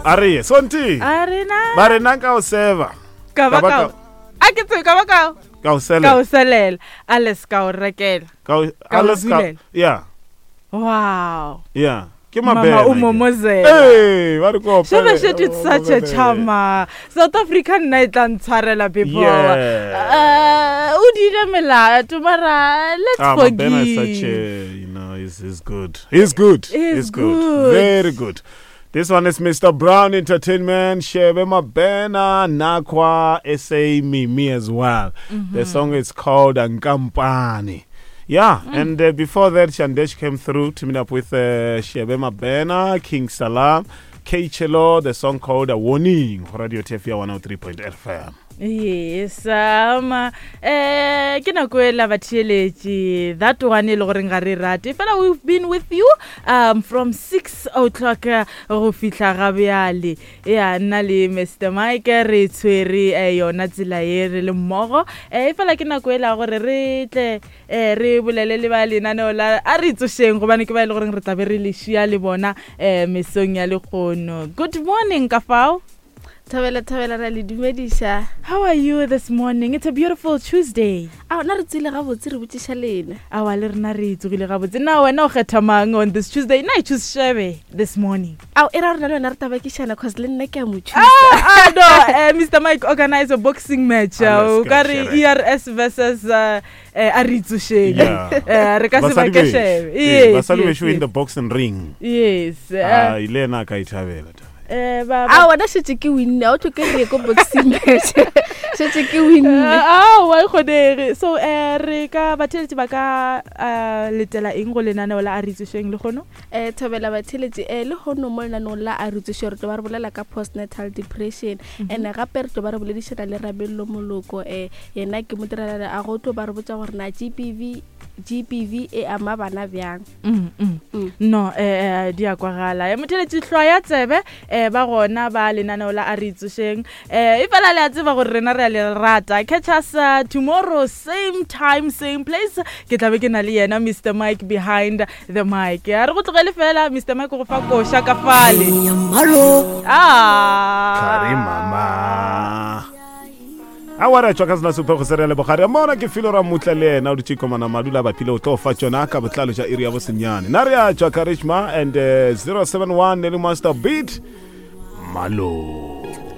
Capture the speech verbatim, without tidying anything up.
A re ye sonti. A rena. Ba rena ka o seva. Ka ba Ka ba ka. ka- A ke tsebe ka ba ka. Ka o Ka selela. o selela. Alles ka o rekela. Ka o Ka o alles ka. dulela. Yeah. Wow. Yeah. Ke Mama mabena. o ke. momozela. Hey, ba re ko Shebe opele, shit it's o such a momozele. charmer. South Africa nna e tla ntshwarela before. Yeah. Uh, o dile melato mara let's Ah, Mabena is such forgive. a, you know, he's, he's good. He's good. He's good. Very good. This one is Mister Brown Entertainment, Shebe Mabena, Nakwa, S A Mimi as well. Mm-hmm. The song is called Ankampani. Yeah, Mm. and uh, before that, Shandesh came through, teaming up with uh, Shebe Mabena, King Salam, K Chelo, the song called A Warning, Radio Tefia one oh three point eight F M. Yes, um, eh, ke nako e la batheeletši that one e le goreng ga re rate fela we've been with you um, from six o'clock eh, go fihla ga bjale ya nna le Mister Mike re tshwere eh, yona tsela ye re le mmogo eh, e fela ke nako e la gore re tle eh, re bolele le ba lenaneo la a re tsošeng gobane ke ba e le goreng re tlabe re le šia le bona eh, mesong ya lekgono. Good morning ka fao. Thabela thabela ra le dumediša. How are you this morning? It's a beautiful Tuesday. Ao na re tswile gabotse re botšiša lena. Awa le rena re tsogile gabotse. Na wena o kgetha mang on this Tuesday? Na I choose Shebe this morning. Ao e ra rena le wena re tabakišana cause le nna ke a mo choose. Ah, ah no, uh, Mister Mike organize a boxing match. Ah, O let's ka go, re Shebe. E R S versus uh, eh, a re tsošeng. Yeah. Eh, re ka se Basadi bake bešo. Shebe. Eh, Yes, basadi yes, bešo in yes. the boxing ring. Yes. Ah, eh, ile ena a ka ithabela taba. eh, ba- ba- Ao wena šetse ke winne, a o tlhoke re ye ko boxing match. Šetse ke winne. Eh, aowa e kgonege. So eh, re ka batheeletši ba ka eh, letela eng go lenaneo la a re tsošeng lekgono? Eh thobela batheeletši eh le hono mo lenaneong la a re tsošeng re tlo ba re bolela ka postnatal depression and gape re tlo ba re boledišana le Rabello Moloko eh yena ke modirelale a go tlo ba re botša gore na G B V G B V e ama bana bjang. Mm, mm. Mm. No eh, eh, di a kwagala. Eh, motheeletši hlwa ya tsebe eh, ba gona ba lenaneo la a re tsošeng eh, e fela le a tseba gore rena re a le rata. Catch us uh, tomorrow same time same place. Ke tlabe ke na le yena Mister Mike behind the mic. A re go tlogele fela Mister Mike go fa koša ka fale. Ah. Kare mama. A wa re tšwa ka sena sephego se re le bogare mona ke filo ra mutla le yena o dutše komana madula bapile o tlo fa tšona ka botlalo tša iri ya bosenyane na re a tšwa Karishma and uh, zero seven one le Master Beat Malo.